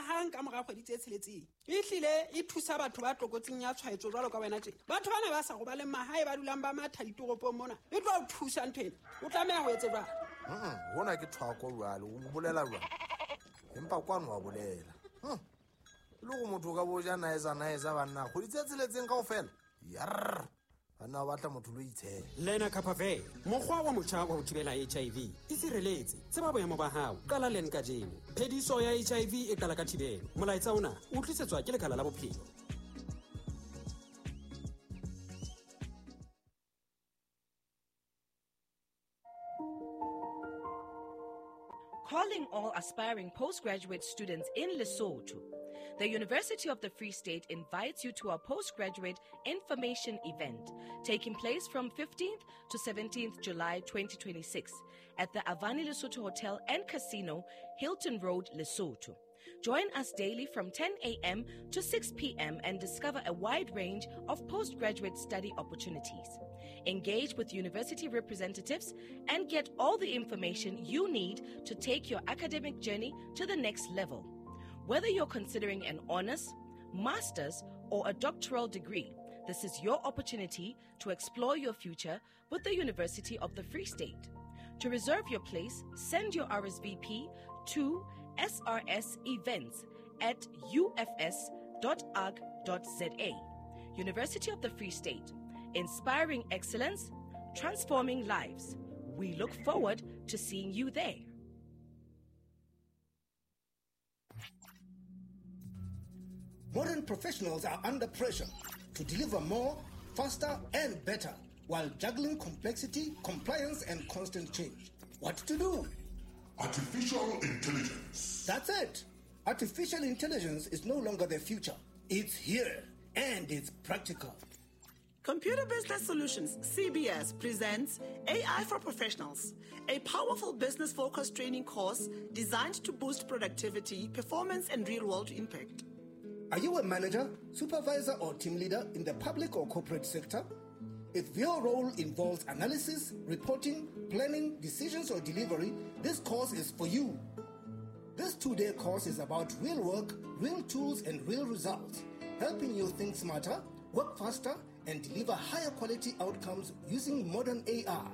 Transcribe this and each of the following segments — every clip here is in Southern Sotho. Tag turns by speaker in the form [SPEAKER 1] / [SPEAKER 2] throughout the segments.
[SPEAKER 1] hang ka mora kgwedi tse tsheletseng. Ehlile e thusa batho ba tlokotsing ya tshwaetso jwalo ka wena tjena. Batho bana ba sa robaleng mahae ba dulang ba matha ditoropong mona, e tlo o thusa ntho ena. O tlameha ho etse jwang?
[SPEAKER 2] Hona ke thwako jwale, o bolela jwang? Empa kwano wa bolela. E le gore motho o ka bo ja naetsa naetsa banna kgwedi tse tsheletseng kaofela. Yarr. Banna ba batla motho lo itshela.
[SPEAKER 3] Lenacapavir, mokgwa wa motjha wa ho thibela HIV. E sireletse, tseba boemo ba hao, qala len kajeno. Phediso ya HIV e qala ka thibelo. Molaetsa ona o tlisetswa ke Lekala la Bophelo.
[SPEAKER 4] Calling all aspiring postgraduate students in Lesotho. The University of the Free State invites you to our postgraduate information event taking place from 15th to 17th July 2026 at the Avani Lesotho Hotel and Casino, Hilton Road, Lesotho. Join us daily from 10 a.m. to 6 p.m. and discover a wide range of postgraduate study opportunities. Engage with university representatives and get all the information you need to take your academic journey to the next level. Whether you're considering an honors, master's, or a doctoral degree, this is your opportunity to explore your future with the University of the Free State. To reserve your place, send your RSVP to srsevents@ufs.org.za. University of the Free State, inspiring excellence, transforming lives. We look forward to seeing you there.
[SPEAKER 5] Modern professionals are under pressure to deliver more, faster, and better while juggling complexity, compliance, and constant change. What to do?
[SPEAKER 6] Artificial intelligence.
[SPEAKER 5] That's it. Artificial intelligence is no longer the future. It's here, and it's practical.
[SPEAKER 7] Computer Business Solutions, CBS, presents AI for Professionals, a powerful business-focused training course designed to boost productivity, performance, and real-world impact.
[SPEAKER 5] Are you a manager, supervisor, or team leader in the public or corporate sector? If your role involves analysis, reporting, planning, decisions, or delivery, this course is for you. This 2-day course is about real work, real tools, and real results, helping you think smarter, work faster, and deliver higher quality outcomes using modern AI.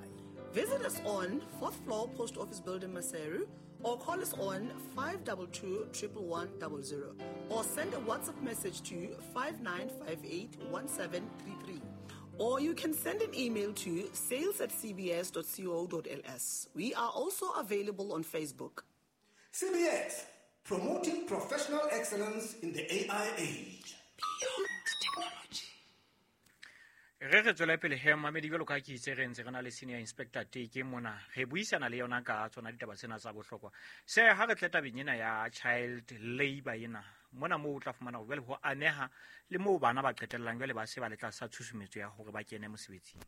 [SPEAKER 7] Visit us on 4th floor Post Office Building, Maseru, or call us on 522 11100, or send a WhatsApp message to 5958 1733. Or you can send an email to sales@cbs.co.ls. We are also available on Facebook.
[SPEAKER 5] CBS, promoting professional excellence in the AI age.
[SPEAKER 7] Beyond technology.
[SPEAKER 8] Re re tswela pele he mamedi jwalo ka ke itse re ntse re na le senior inspector Teke mona re buisana le yona ka tsona ditaba tsena tsa bohlokwa. Se ha re tle tabeng ena ya child labor ena mona moo o tla fumana hore jwale ho ameha le moo bana ba qetellang jwale ba se ba le tlasa tshusumetso ya hore ba kene mosebetsing.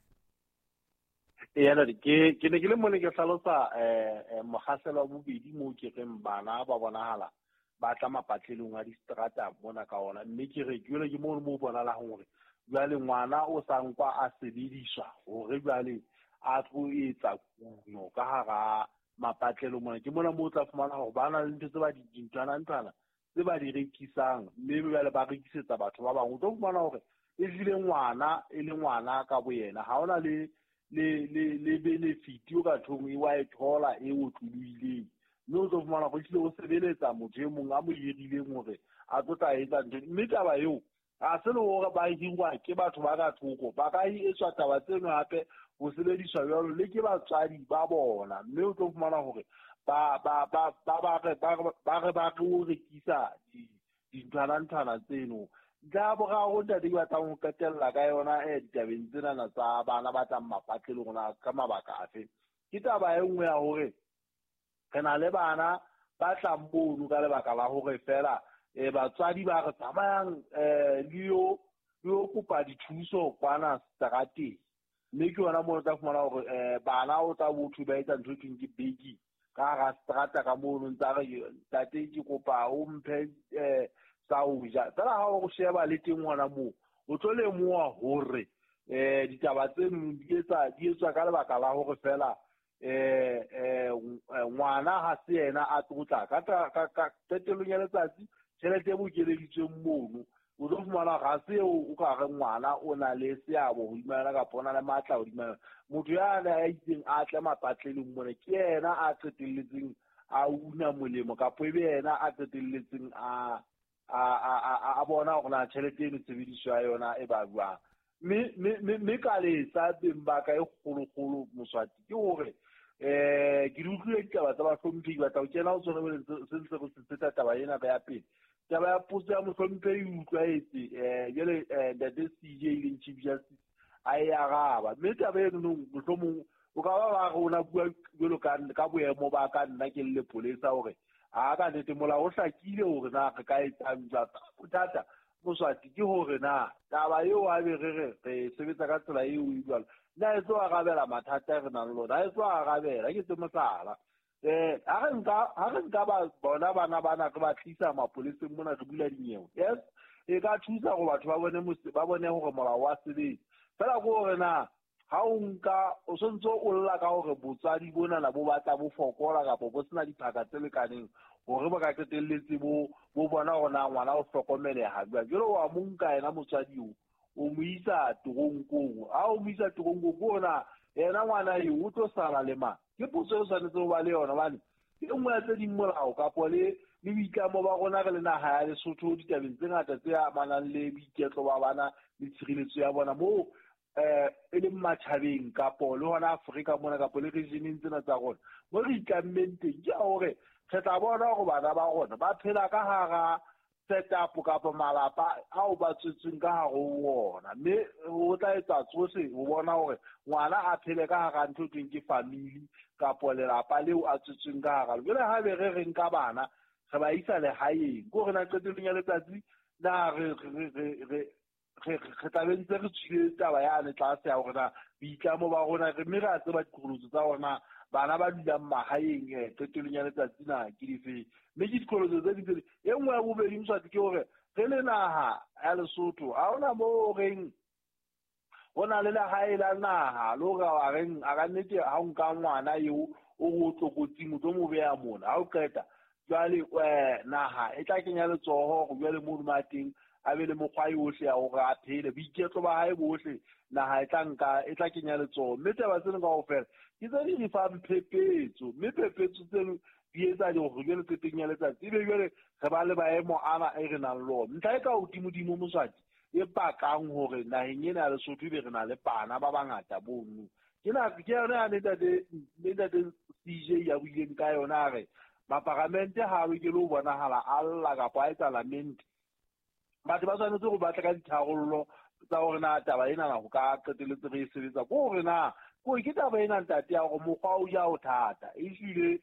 [SPEAKER 9] Ee, ke ne ke le mone ke hlalosa mokgahlelo wa bobedi moo ke reng bana ba bonahala ba tla mapatlelong a distrata mona ka ona, mme ke re jwale ke mono moo bonahalang hore jwale ngwana o sa nkwa a sebediswa hore jwale a tlo etsa kuno ka hara mapatlelo mona. Ke mona moo o tla fumana hore ba na le ntho tse ba di dinthwana-nthwana tse ba di rekisang, mme jwale ba rekisetsa batho ba bang. O tlo fumana hore ehlile ngwana e le ngwana ka boyena ha ona le le le le benefit o ka thong e wa e thola e otlolohileng, mme o tlo fumana hore ehlile o sebeletsa motho e mong a mo hirileng hore a tlo tla etsa ntho. Mme taba eo ha se le hore ba hirwa ke batho ba ka thoko, ba ka etswa taba tseno hape ho sebediswa jwalo le ke batswadi ba bona, mme o tlo fumana hore ba ba ba ba ba re ba ba re ba re o rekisa dinthwana-nthwana tseno. Ntlha ya boraro ntate ke batlang ho qetella ka yona ditabeng tsenana tsa bana ba tlang mapatlelong rona ka mabaka afe, ke taba e nngwe ya hore re na le bana ba tlang mono ka lebaka la hore fela batswadi ba re tsamayang le yo kopa dithuso kwana strateng, mme ke yona moo o tla fumana hore bana o tla botho ba etsa ntho e thweng ke begging ka hara strata ka mono, ntsa re ntate ke kopa o mphe sa ho ja. Fela ha o sheba le teng hona moo o tlo lemoha hore ditaba tseno di etswa ka lebaka la hore fela Ngwana ha se yena a tlotla ka qetellong ya letsatsi tjhelete e bokeleditsweng mono o tlo fumana ga se o ka re ngwana o na le seabo hodima yona kapa o na le matla hodima yona. Motho ya ne a itseng a tle mapatlelong mona ke yena a qetelletseng a una molemo kapa ebe yena a qetelletseng a bona hore na tjhelete eno tshebediso ya yona e ba jwang. Mme ka letsa beng ba ka e kgolokgolo Moswati ke hore ke di utlwile ditaba tsa bahlomphehi, batla ho kena ho tsona jwale se ntse re setsa taba ena ka ya pele. Taba ya potso ya mohlomphehi e utlwaetse jwale ntate CJ e leng Chief Justice a e araba. Mme taba eno mohlomong o ka ba re o na bua jwalo ka boemo ba ka nna ke le lepolesa hore a ka nnete molao o hlakile hore na re ka etsang jwang. Bothata Moswati ke hore na taba eo a be re re sebetsa ka tsela eo e jwalo na e tlo arabela mathata a re nang le ona, e tlo arabela ke tse mohlala. Ha re nka ba bona bana bana re ba tlisa mapoleseng mona re bula dinyewe, yes, e ka thusa hore batho ba bone hore molao wa sebetsa. Fela ke hore na ha o nka o sontso o lla ka hore botswadi bonana bo batla bo fokola kapa bo sena diphaka tse lekaneng hore ba ka qetelletse bo bona hore na ngwana o hlokomeleha jwang. Jwale wa mo nka yena motswadi eo o mo isa toronkong, ha o mo isa toronkong ke hore na yena ngwana eo o tlo sala le mang? Ke potso e tshwanetse ho ba le yona hobane ke e nngwe ya tse ding molao kapo le boitlamo ba rona re le naha ya Lesotho ditabeng tse ngata tse amanang le boiketlo ba bana le tshireletso ya bona moo e leng matjhabeng kapo le hona Afrika mona kapo le regioneng tsena tsa rona. Mo re itlammeng teng ke hore re tla bona hore bana ba rona ba phela ka hara setup kapa malapa ao ba tswetsweng ka hare ho ona, mme o tla etsa tsohle ho bona hore ngwana a phele ka hara ntho e thweng ke family kapo lelapa leo a tswetsweng ka hara. Jwale ha be re re nka bana re ba isa lehaeng, ke hore na qetellong ya letsatsi na re tla be ntse re tswile taba yane tlase ya hore na boitlamo ba rona re mme re a tseba diqholotso tsa rona bana ba dulang mahaeng qetellong ya letsatsi na ke difeng. Mme ke diqholotso tse ding tse e nngwe ya bobedi Moswati ke hore re le naha ya Lesotho ha hona moo reng ho na le lehae la naha le hore wa reng a ka nnete ha o nka ngwana eo o re o tlokotsing o tlo mo beha mona ha o qeta jwale naha e tla kenya letsoho hore jwale mono ma teng a be le mokgwa yohle ya hore a phele boiketlo ba hae bohle naha e tla nka e tla kenya letsoho. Mme taba tseno kaofela ke tse di re fang phephetso, mme phephetso tseno di etsa hore jwale qetong ya letsatsi ebe jwale re ba le maemo ana e re nang le ona. Ntlha e ka hodimodimo Moswati e pakang hore naheng ena ya Lesotho ebe re na le bana ba bangata bono ke yona ya ntate CJ ya buileng ka yona a re maparamente ha a lokele ho bonahala a lla kapa a etsa lamente. Batho ba tshwanetse ho batla ka ditharollo tsa hore na taba ena na ho ka qetelletse re e sebetsa. Ke hore na ke taba ena ntate ya hore mokgwa o ja o thata ehlile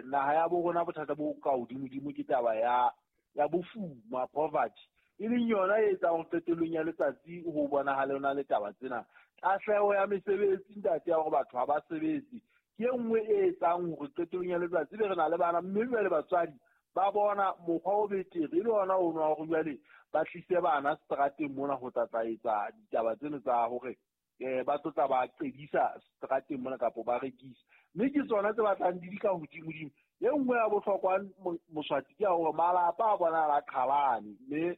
[SPEAKER 9] naha ya bo rona bothata bo ka hodimodimo ke taba ya bofuma, poverty, e leng yona e etsang hore qetellong ya letsatsi ho bonahale ho na le taba tsena. Tahleho ya mesebetsi ntate ya hore batho ha ba sebetse ke e nngwe e etsang hore qetellong ya letsatsi be re na le bana, mme jwale batswadi ba bona mokgwa o betere e le ona ono wa hore jwale ba tlise bana seterateng mona ho tla etsa ditaba tseno tsa hore ba tlotla ba qedisa seterateng mona kapo ba rekisa. Mme ke tsona tse batlang di ka hodimodimo. E nngwe ya bohlokwa Moswati ke ya hore malapa a bona a qhalane, mme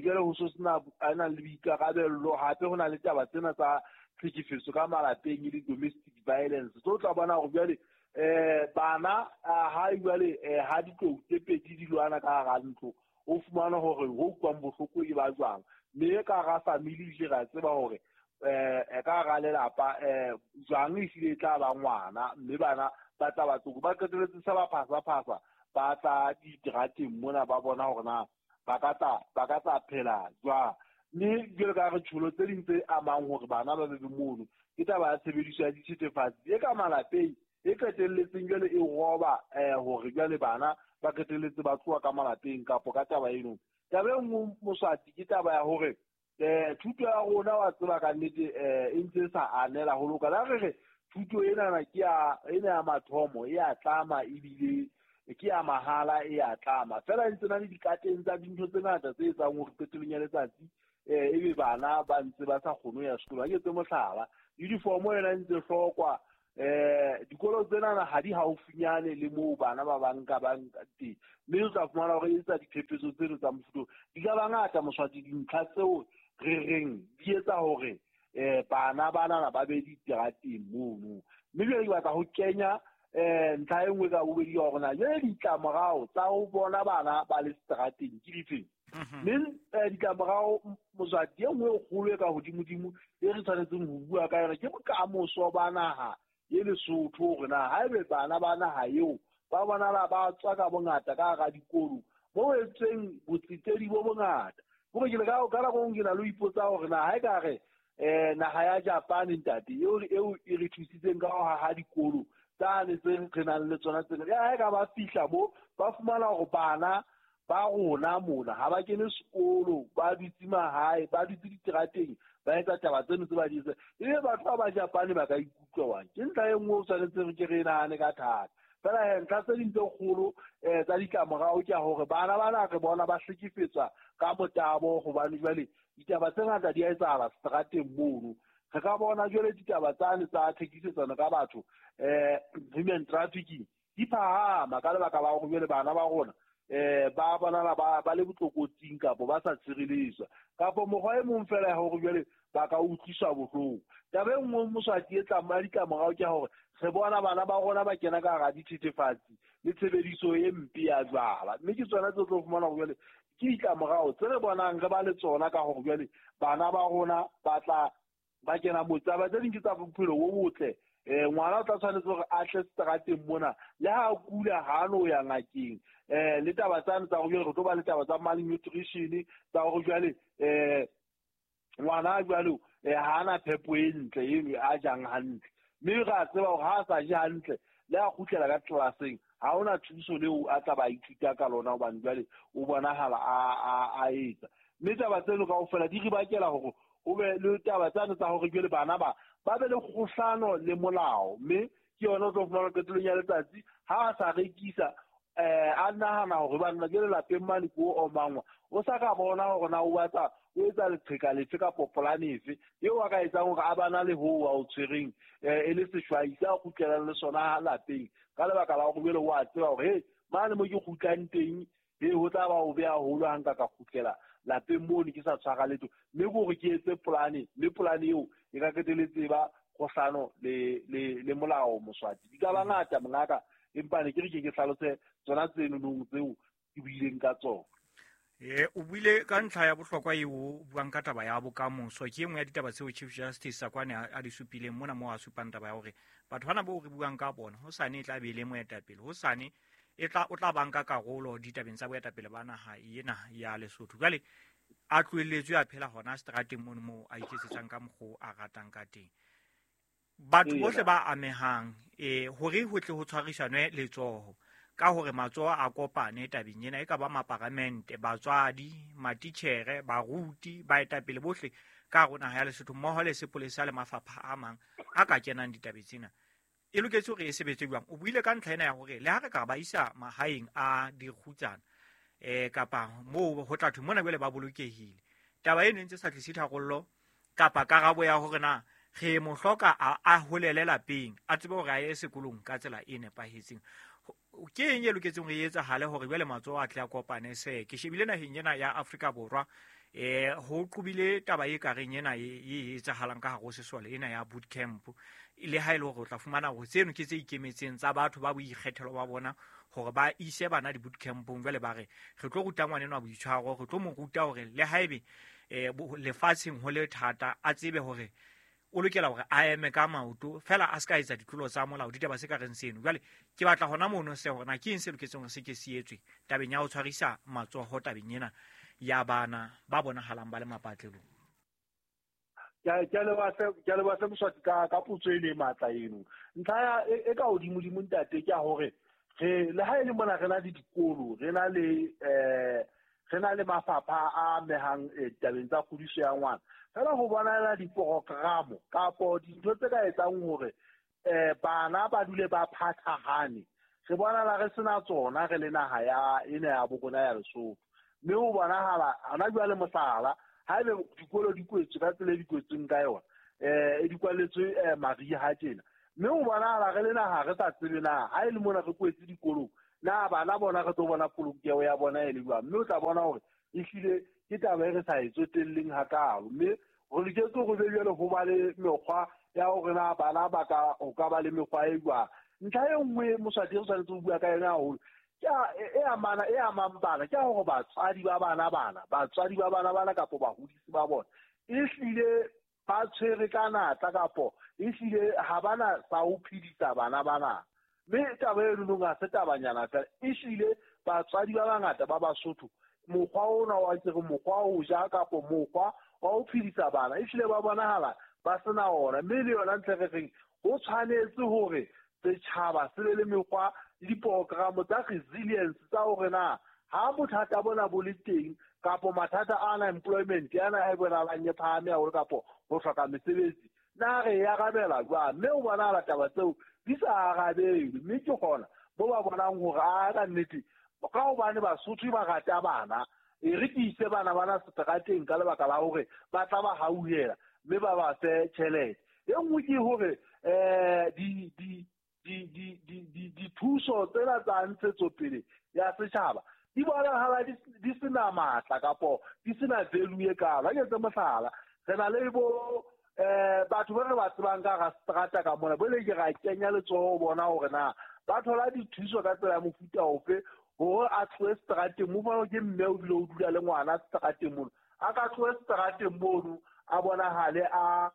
[SPEAKER 9] jwale ho so sena a nang le boikarabello. Hape ho na le taba tsena tsa tlhekefetso ka malapeng e le domestic violence tso tla bona hore jwale bana ha jwale ha ditlou tse pedi di lwana ka hara ntlo o fumana hore ho utlwang bohloko e ba jwang. Mme ka hara family ehlile re a tseba hore ka hara lelapa jwang ehlile e tla ba ngwana, mme bana ba tla ba tsoko ba qetelletse se ba phasa-phasa ba tla diterateng mona ba bona hore na ba ka tla phela jwang. Mme jwalo ka re tsholo tse ding tse amang hore bana ba be mono ke taba ya tshebediso ya dithethefatsi e ka malapeng e qetelletseng jwale e roba hore jwale bana ba qetelletse ba tloha ka malapeng kapo ka taba eno. Taba e nngwe Moswati ke taba ya hore thuto ya rona wa tseba ka nnete e ntse e sa anela ho loka. La re thuto enana ke ya ena ya mathomo e a tlama ebile ke ya mahala e a tlama fela e ntse na le dikateng tsa dintho tse ngata tse etsang hore qetellong ya letsatsi ebe bana ba ntse ba sa kgone ho ya sekolo. Ha ke etse mohlala, uniform yona e ntse hlokwa Dikolo tsenana ha di haufinyane le moo bana ba bang ka bang teng, mme o tla fumana hore e etsa diphephetso tseno tsa mofuta. Di ka ba ngata Moswati dintlha tseo re reng di etsa hore bana banana ba be diterateng mono. Mme jwale ke batla ho kenya ntlha e nngwe ka bobedi ya hore na jwale ditlamorao tsa ho bona bana ba le seterateng ke difeng. Mme ditlamorao Moswati e nngwe e kgolo e ka hodimodimo e re tshwanetseng ho bua ka yona ke bokamoso ba naha e Lesotho, hore na haebe bana ba naha eo ba bonala ba tswa ka bongata ka hara dikolo mo etseng botsetedi bo bongata. Hore ke le ka nako ke na le ho ipotsa hore na ha e ka re naha ya Japan ntate eo e re thusitseng ka ho haha dikolo tsane tse re nang le tsona tsena, ya ha e ka ba fihla mo ba fumana hore bana ba rona mona ha ba kene sekolo, ba dutse mahae, ba dutse diterateng, ba etsa taba tseno tse ba di etsang, ebe batho ba ba Japane ba ka ikutlwa wang? Ke ntlha e nngwe o tshwanetseng ke re nahane ka thata. Fela he ntlha tse ding tse kgolo tsa ditlamorao ke ya hore bana bana re bona ba hlekefetswa ka motabo, hobane jwale ditaba tse ngata di a etsahala seterateng mono. Re ka bona jwale ditaba tsane tsa thekisetsano ka batho, human trafficking, di phahama ka lebaka la hore jwale bana ba rona ba bonala ba le botlokotsing kapo ba sa tshireletswa, kapo mokgwa e mong fela ya hore jwale ba ka utlwiswa bohloko. Taba e nngwe Moswati e tla ditlamorao ke hore re bona bana ba rona ba kena ka hara dithethefatsi le tshebediso e mpe ya jwala, mme ke tsona tse tlo fumana hore jwale ke ditlamorao tse re bonang re ba le tsona ka hore jwale bana ba rona ba tla ba kena moo. Taba tse ding ke tsa bophelo bo botle. Ngwana o tla tshwanetse hore a tle seterateng mona, le ha a kula ha no ya ngakeng. Le taba tsane tsa hore jwale re tlo ba le taba tsa malnutrition, tsa hore jwale ngwana jwale ha ana phepo e ntle eno a jang hantle, mme re a tseba hore ha a sa je hantle le a kgutlela ka tlelaseng ha hona thuso leo a tla ba ithuta ka lona, hobane jwale o bonahala a etsa. Mme taba tseno kaofela di re bakela hore ho be le taba tsane tsa hore jwale bana ba be le kgohlano le molao, mme ke yona o tlo fumana qetellong ya letsatsi ha a sa rekisa a nahana hore banna jwale lapeng mane ko omangwa, o sa ka bona hore na o batla o etsa leqheka lefe kapo polane efe eo a ka etsang hore a bana le hoo a o tshwereng e le seshwai se a kgutlelang le sona lapeng, ka lebaka la hore jwale o a tseba hore he mane mo ke kgutlang teng he ho tla ba o be haholo ha nka ka kgutlela lapeng mono ke sa tshwara letho, mme ke hore ke etse polane, mme polane eo e ka qetelletse ba kgohlano le molao Moswati. Di ka ba ngata mongaka, empa ne ke re ke hlalose tsona tseno tseo ke buileng ka tsona.
[SPEAKER 8] O buile ka ntlha ya bohlokwa eo o buang ka taba ya bokamoso. Ke e nngwe ya ditaba tseo Chief Justice Sakoane a di supileng mona moo a supang taba ya hore batho bana bao re buang ka bona hosane e tla be e le moetapele, hosane o tla banka karolo ditabeng tsa boetapele ba naha ena ya Lesotho. Jwale a tlohelletswe a phela hona seterateng mono moo a iketsetsang ka mokgwa a ratang ka teng. Batho bohle ba amehang hore ho tle ho tshwarisanwe letsoho ka hore matsoho a kopane tabeng ena, e ka ba maparamente, batswadi, matitjhere, baruti, baetapele bohle ka hare ho naha ya Lesotho mmoho le sepolesa le mafapha a mang a ka kenang ditabeng tsena, e loketse hore e sebetse jwang? O buile ka ntlha ena ya hore le ha re ka ba isa mahaeng a dikgutsana kapa moo ho tla thwe mona jwale ba bolokehile, taba eno e ntse sa tlise tharollo kapa karabo ya hore na re mo hloka a holele lapeng, a tsebe hore a ye sekolong ka tsela e nepahetseng. Ke eng e loketseng hore e etsahale hore jwale matsoho a tle a kopane? Se ke shebile naheng ena ya Afrika Borwa, ho qobile taba e kareng ena e etsahalang ka hare ho sesole ena ya boot camp, le ha e le hore o tla fumana hore tseno ke tse ikemetseng tsa batho ba boikgethelo ba bona hore ba ise bana di-boot campong. Jwale ba re re tlo ruta ngwana enwa boitshwaro, re tlo mo ruta hore le haebe lefatsheng ho le thata a tsebe hore o lokela hore a eme ka maoto fela a se ka etsa ditlolo tsa molao, ditaba se ka reng seno. Jwale ke batla hona mono se hore na ke eng se loketseng hore se ke se etswe tabeng ya ho tshwarisa matsoho tabeng ena ya bana ba bonahalang ba le mapatlelong.
[SPEAKER 9] Ke a leboha hle Moswati ka potso eno e matla eno. Ntlha e ka hodimodimo ntate ke ya hore re le ha e le mona re na le dikolo, re na le mafapha a amehang ditabeng tsa kgodiso ya ngwana, fela ho bonahala diporokramo kapo dintho tse ka etsang hore bana ba dule ba phathahane, re bonahala re sena tsona re le naha ya ena ya bo rona ya Lesotho. Mme ho bonahala hona jwale mohlala haebe dikolo di kwetswe ka tsela e di kwetsweng ka yona, e di kwalletswe mariha tjena, Mme o bonahala re le naha re sa tsebe na ha e le mona re kwetse dikolong na bana bona re tlo bona polokeho ya bona e le jwang. Mme o tla bona hore ehlile ke taba e re sa e tsotelleng hakalo. Mme re loketse hore be jwale ho ba le mekgwa ya hore na bana ba ka ho ka ba le mekgwa e jwang. Ntlha e nngwe Moswati re tshwanetse ho bua ka yona haholo ke e amana e amang bana, ke hore batswadi ba bana bana, batswadi ba bana bana kapa bahodisi ba bona ehlile ba tshwere ka natla kapo ehlile ha bana sa ho phedisa bana bana. Mme taba e nong ha se tabanyana fela, ehlile batswadi ba bangata ba Basotho mokgwa ona wa ke re mokgwa wa ho ja kapo mokgwa wa ho phedisa bana ehlile ba bonahala ba sena ona. Mme le yona ntle re reng ho tshwanetse hore setjhaba se be le mekgwa le diprogramo tsa resilience tsa hore na ha bothata bona bo le teng kapo mathata a unemployment ana a bonahalang e phahame haholo kapo ho hloka mesebetsi, na re e arabela jwang. Mme o bonahala taba tseo di sa arabelwe, mme ke hona bo ba bonang hore a ka nnete ka hobane Basotho ba rata bana, e re ke ise bana bana seterateng ka lebaka la hore ba tla ba hauhela mme ba ba fe tjhelete. E nngwe ke hore dithuso tsena tsa ntshetsopele ya setjhaba di bonahala di sena matla kapo di sena value e kalo. Ha ke etse mohlala, re na le bo batho ba re ba tsebang ka hara seterata ka mona, bo le ke ra kenya letsoho ho bona hore na ba thola dithuso ka tsela ya mofuta ofe hore a tlohe seterateng. Mo fana ke mme o bile o dula le ngwana seterateng mono, a ka tlohe seterateng mono a bonahale a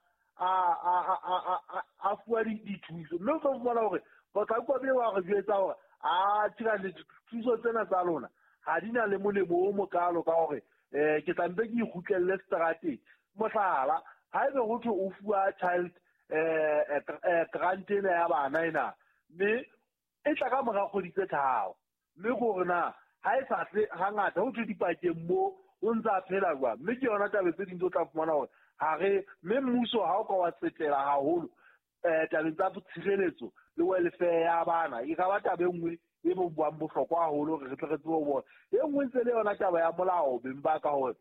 [SPEAKER 9] fuwa dithuso. Mme o tlo fumana hore Potlako be wa re jwetsa hore a tshira le dithuso tsena tsa lona ha di na le molemo o mokalo ka hore ke tla mpe ke ikgutlelle seterateng. Mohlala, haebe ho thwe o fuwa child grant ena ya bana ena, mme e tla ka mora kgwedi tse 3, mme hore na ha e sa tle hangata ho thwe dipakeng mo o ntse a phela jwang. Mme ke yona taba tse ding tse o tla fumana hore ha re mme mmuso ha o ka wa tsetela haholo tabeng tsa tshireletso le welfare ya bana, e ka ba taba e nngwe e bo buang bohlokwa haholo hore re tle re tsebe ho bona. E nngwe ntse le yona taba ya molao beng ba ka hore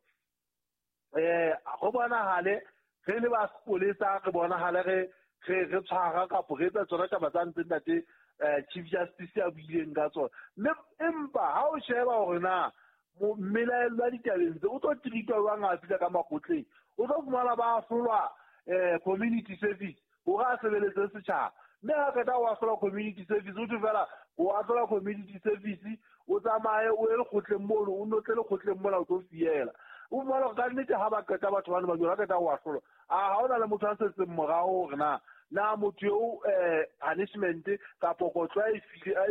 [SPEAKER 9] go bonahale re le ba sepolesa, re bonahale re tshwara kapo re etsa tsona taba tsa ntse ntate Chief Justice a buileng ka tsona. Mme empa ha o sheba hore na mmelaellwa ditabeng tse o tlo treatwa jwang ha a fihla ka makgotleng, o tlo fumana ba ahlolwa community service hore a sebeletse setjhaba. Mme ha qeta ho ahlola community service, o thwe fela o ahlola community service, o tsamaye o ye lekgotleng mono, o nno tle lekgotleng mona o tlo fiela. O fumana hore ka nnete ha ba qeta batho bano ba jwalo, ha qeta ho ahlola, a ha hona le motho a setseng morao hore na motho eo punishment kapo kotlo a e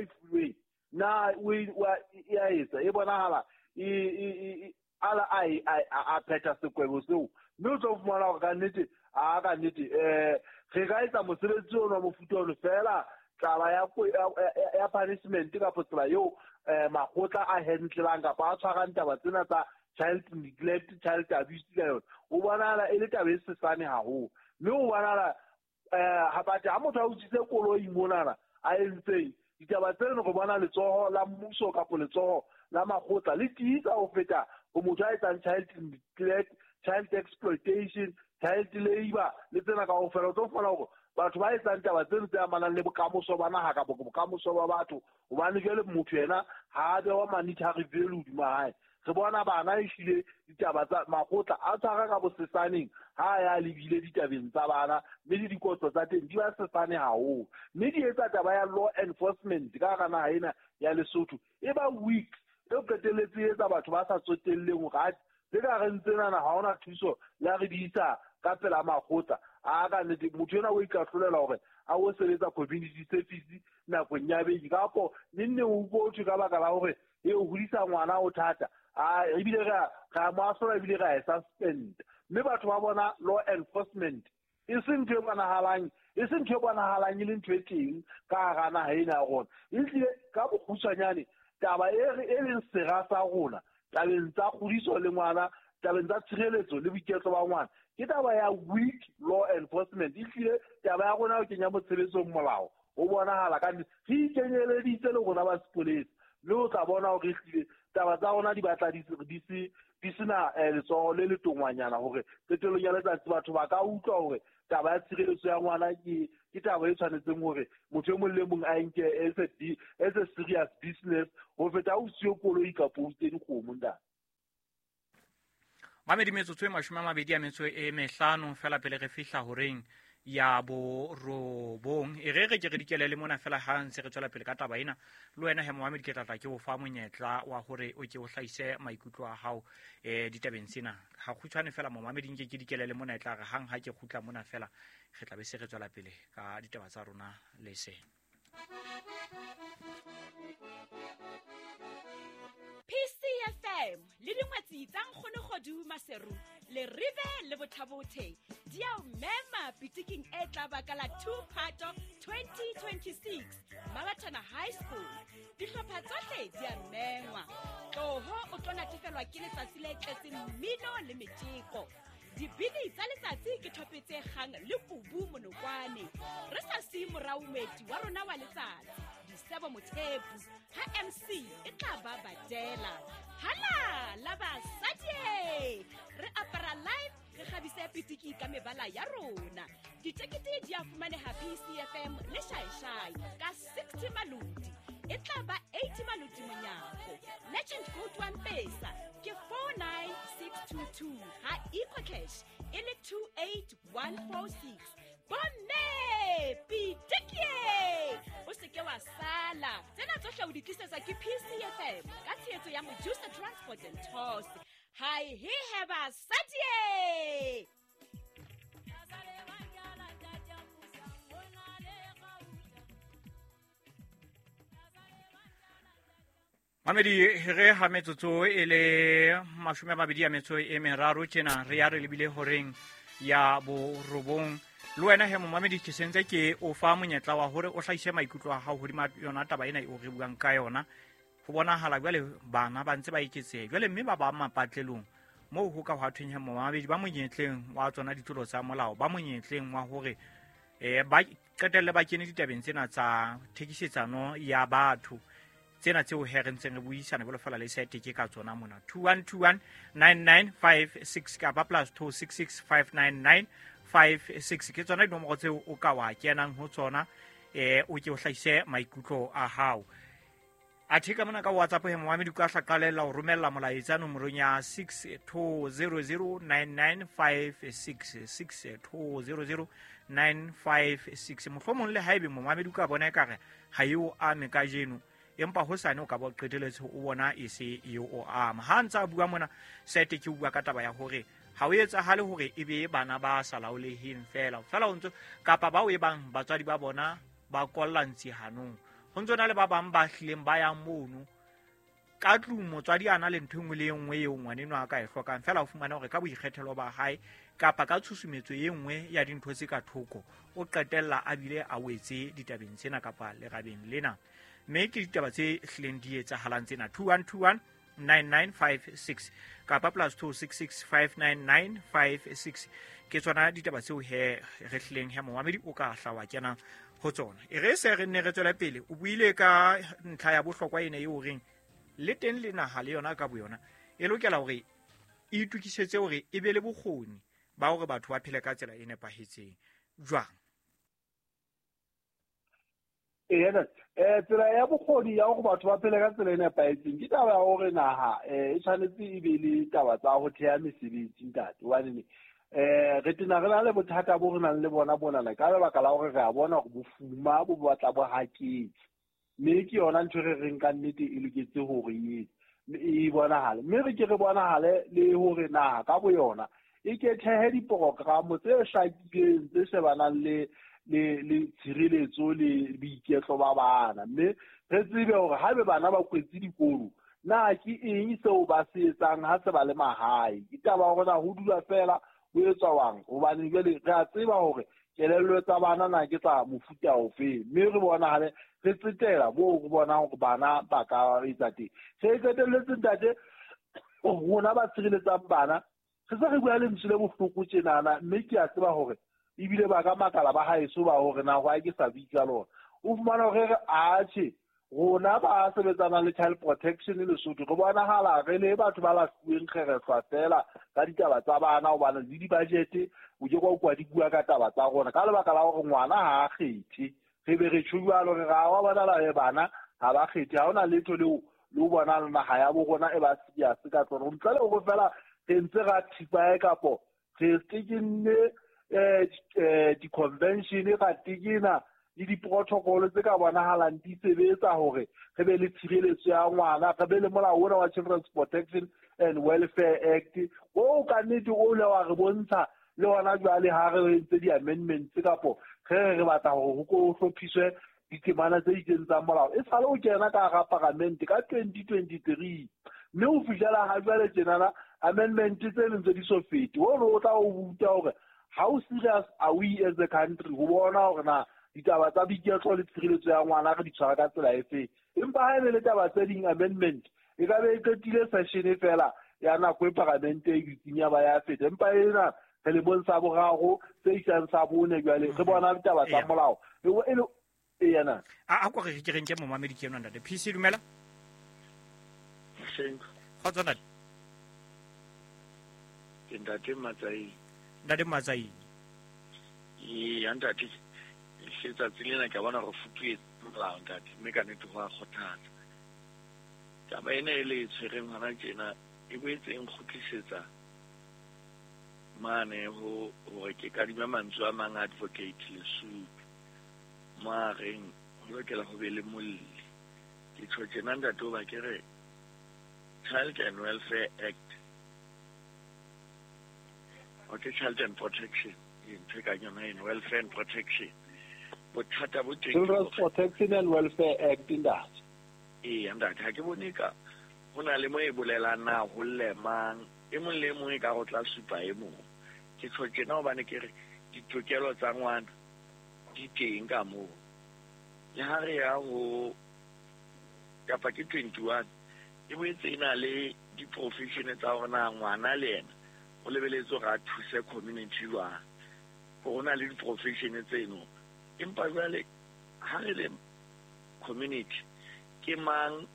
[SPEAKER 9] fuweng na o e a etsa, e bonahala e ala a phetha sekwebo seo. Mme o tlo fumana hore ka nnete a ka nnete re ka etsa mosebetsi ono wa mofuta ono fela taba ya punishment kapo tsela eo makgotla a handlelang kapa a tshwarang taba tsena tsa child neglect, child abuse ka yona, o bonahala e le taba e sesane haholo. Mme o bonahala ha batho ha motho a utswitse koloi monana a entseng ditaba tseno, re bona letsoho la mmuso kapo letsoho la makgotla le tiisa ho feta ho motho a etsang child neglect, child exploitation, child labor le tsena kaofela. O tlo fumana hore batho ba etsang taba tseno tse amanang le bokamoso ba naha kapo bokamoso ba batho, hobane jwale motho yena ha a bewa monetary value hodima hae. Re bona bana ehlile ditaba tsa makgotla a tshwara ka bosesaneng ha ya lebile ditabeng tsa bana, mme le dikotlo tsa teng di ba sesane haholo. Mme di etsa taba ya law enforcement ka hara naha ena ya Lesotho e ba weak, e qetelletse e etsa batho ba sa tsotelleng hore tse ka reng tsenana ha hona thuso le ha re di isa ka pela makgotla. A ka nnete motho ena o ikahlolela hore a o sebetsa community service nakong ya beke, kapo neng o utlwe ho thwe ka baka la hore e o hodisa ngwana o thata, a ebile re mo ahlola ebile re a e suspend. Mme batho ba bona law enforcement e se ntho e bonahalang, e se ntho e bonahalang e le ntho e teng ka hara naha ena ya rona. Ehlile ka bokgutshwanyane taba e leng sera sa rona tabeng tsa kgodiso le ngwana, tabeng tsa tshireletso le boiketlo ba ngwana, ke taba ya weak law enforcement. Ehlile taba ya rona ho kenya mo tshebetsong molao o bonahala ka nnete re ikenyeleditse le rona ba sepolesa, Mme o tla bona hore ehlile taba tsa rona di batla di sena letsoho le letongwanyana hore qetellong ya letsatsi batho ba ka utlwa hore taba ya tshireletso ya ngwana ke taba e tshwanetseng hore motho e mong le mong a nke as a serious business ho feta o siyo koloi kapa o utse dikgomo ntate.
[SPEAKER 8] Mamedi metsotso e 25 fela pele re fihla horeng ya borobong. E re re ke re dikele le mona fela ha ntse re tswela pele ka taba ena. Le wena he Mohammed ke tlatla ke o fa monyetla wa hore o ke o hlahise maikutlo a hao ditabeng tsena. Ha kgutshwane fela Mohammed nke ke dikele le mona e tla re hang ha ke kgutla mona fela re tla be se re tswela pele ka ditaba tsa rona le se.
[SPEAKER 4] PCFM le dingwetsi tsa Nkgono Kgodu Maseru le Rive le Bothabothe di a o mema pitiking e tla baka la 2 Phato 2026 Mabatana High School. Dihlopha tsohle di a mengwa. Tloho o tlo natefelwa ke letsatsi le tletseng mmino le metjeko. Dibini tsa letsatsi ke thope tse kgang le kubu monokwane. Re sa siye morao moeti wa rona wa letsatsi Disebo Mothepu ha MC e tla ba badela. Hala la basadi re apara live re kgabise pitiki ka mebala ya rona. Ditekete di a fumaneha PCFM le Shaishai ka 60 maloti. E tla ba 80 maloti monyako. Legend code wa Mpesa ke 49622 ha EcoCash e le 28146. Bomme pitiki o seke wa sala. Tsena tsohle o di tlisetsa ke PCFM ka tshehetso ya Mojusa Transport and Tours. Hi he heba sadie.
[SPEAKER 8] Mamedi re ha metsotso e le 23 tjena re ya re lebile horeng ya borobong. Le wena he momamedi ke sentse ke o fa monyetla wa hore o hlahise maikutlo a hao hodima yona taba ena eo re buang ka yona. Ho bonahala jwale bana ba ntse ba eketseha jwale mme ba ba mapatlelong moo ho ka hwa thweng he momamedi ba monyetleng wa tsona ditlolo tsa molao, ba monyetleng wa hore ba qetelle ba kene ditabeng tsena tsa thekisetsano ya batho tsena tseo he re ntseng re buisana jwalo fela le sete ke ka tsona mona. 21219956 kapa +266 59956 ke tsona dinomoro tseo o ka wa kenang ho tsona o ke o hlahise maikutlo a hao. Athe ka mona ka WhatsApp he momamedi ka hla qalella ho romella molaetsa nomorong ya 62009956 62009956. Mohlomong le haebe momamedi ka bona ekare ha eo ame kajeno empa hosane o ka ba qeteletse o bona e se eo o ama. Ha ntsa bua mona sete ke bua ka taba ya hore ha o etsahale hore e be bana ba sa laoleheng fela fela o ntso kapa bao e bang batswadi ba bona ba kolla ntsi hanong. Ho ntso na le ba bang ba hlileng ba yang mono ka tlung motswadi a na le ntho e nngwe le e nngwe eo ngwaneno a ka e hlokang fela o fumana hore ka boikgethelo ba hae kapa ka tshusumetso e nngwe ya dintho tse ka thoko o qetella a bile a wetse ditabeng tsena kapa lerabeng lena. Mme ke ditaba tse hlileng di etsahalang tsena. 21219956 kapa +266 59956 ke tsona ditaba tseo he re hlileng he momamedi o ka hla wa kena ho tsona. E re se re nne re tswele pele. O buile ka ntlha ya bohlokwa ena eo reng le teng le naha le yona ka boyona e lokela hore e itukisetse hore e be le bokgoni ba hore batho ba phele ka tsela e nepahetseng. Jwang?
[SPEAKER 9] Ee, tsela ya bokgoni ya hore batho ba phele ka tsela e nepahetseng ke taba ya hore naha e tshwanetse e be le taba tsa ho theha mesebetsi ntate. Hobane re tena re na le bothata bo re nang le bona bonana ka lebaka la hore re a bona hore bofuma bo batla bo haketse. Mme ke yona ntho re reng ka nnete e loketse hore e bonahale. Mme re ke re bonahale le hore naha ka boyona e ke thehe diprogramo tse hlakileng tse shebanang le tshireletso le boiketlo ba bana. Mme re tsebe hore haebe bana ba kwetse dikolo na ke eng seo ba se etsang ha se ba le mahae. Ke taba ya hore na ho dula fela ho etswa hobane jwale re a tseba hore kelello tsa bana na ke tsa mofuta ofe. Mme re bonahale re tsetela moo re bonang hore bana ba ka etsa teng. Se qetelletse ntate rona ba tshireletsang bana re se re bua lentswe le bohloko tjenana, mme ke a tseba hore ebile ba ka makala ba haeso ba hore na hwa ke sa bitsa lona. O fumana hore re atjhe Rona ba sebetsanang le child protection Lesotho re bonahala re le batho ba lahluweng kgerehlwa fela ka ditaba tsa bana, hobane le di-budget o ke kwa kwa di bua ka taba tsa rona ka lebaka la hore ngwana ha a kgethe. Re be re tjho jwalo re ra wa bona la bana ha ba kgethe, ha hona letho leo le o bona naha ya bo rona e ba serious ka tsona. Ntle le hore fela re ntse ra thipa kapo re tekenne di-convention, ra tekena le di-protocol tse ka bonahalang di sebetsa hore re be le tshireletso ya ngwana, re be le molao ona wa Children's Protection and Welfare Act o ka nnete o le wa re bontsha le hona jwale ha re entse di-amendments kapo re re batla hore ho ko hlophiswe ditemana tse itseng tsa molao e sale o kena ka hara paramente ka 2023, mme ho fihlela ha jwale tjenana amendment tse leng tse di so fete. Ono o tla o ruta hore how serious are we as a country ho bona hore na ditaba tsa boiketlo le tshireletso ya ngwana re di tshwara ka tsela efe. Empa ha e le taba tse ding amendment e ka be e qetile session fela ya nako e paramente e dutseng ya ba ya feta, empa ena re le bontsha boraro tse isang sa bone jwale re bona ditaba tsa molao e le yena.
[SPEAKER 8] A ko re ke reng ke momamedi ke yona ntate PC dumela. Kgotso ntate.
[SPEAKER 10] Ke ntate Matsaini.
[SPEAKER 8] Ntate Matsaini.
[SPEAKER 10] Ee, ntate letsatsi lena ke bona re futuetse molao ntate, mme ka nnete ho a kgothatsa. Taba ena e le e tshwereng hona tjena e boetse e nkgutlisetsa mane ho hore ke kadime mantswe a mang advocate Lesotho mo a reng ho lokela ho be le molli. Ke tjho tjena ntate hoba ke re Child and Welfare Act okay, Child and Protection ntho e kang yona eno, Welfare and Protection. Bothata bo teng
[SPEAKER 9] Children's Protection and Welfare Act ntate.
[SPEAKER 10] Ee ntate, ha ke bone ka ho na le mo e bolelang na ho lle mang, e mong le mong e ka go tla supa e mong. Ke tjho tjena hobane ke re ditokelo tsa ngwana di teng ka moo. Le ha re ya ho kapa ke 21 e boetse e na le di-profession tsa hore na ngwana le yena o lebeletse hore a thuse community jwang. Ho na le di-profession tseno. Empa jwale ha re le community ke mang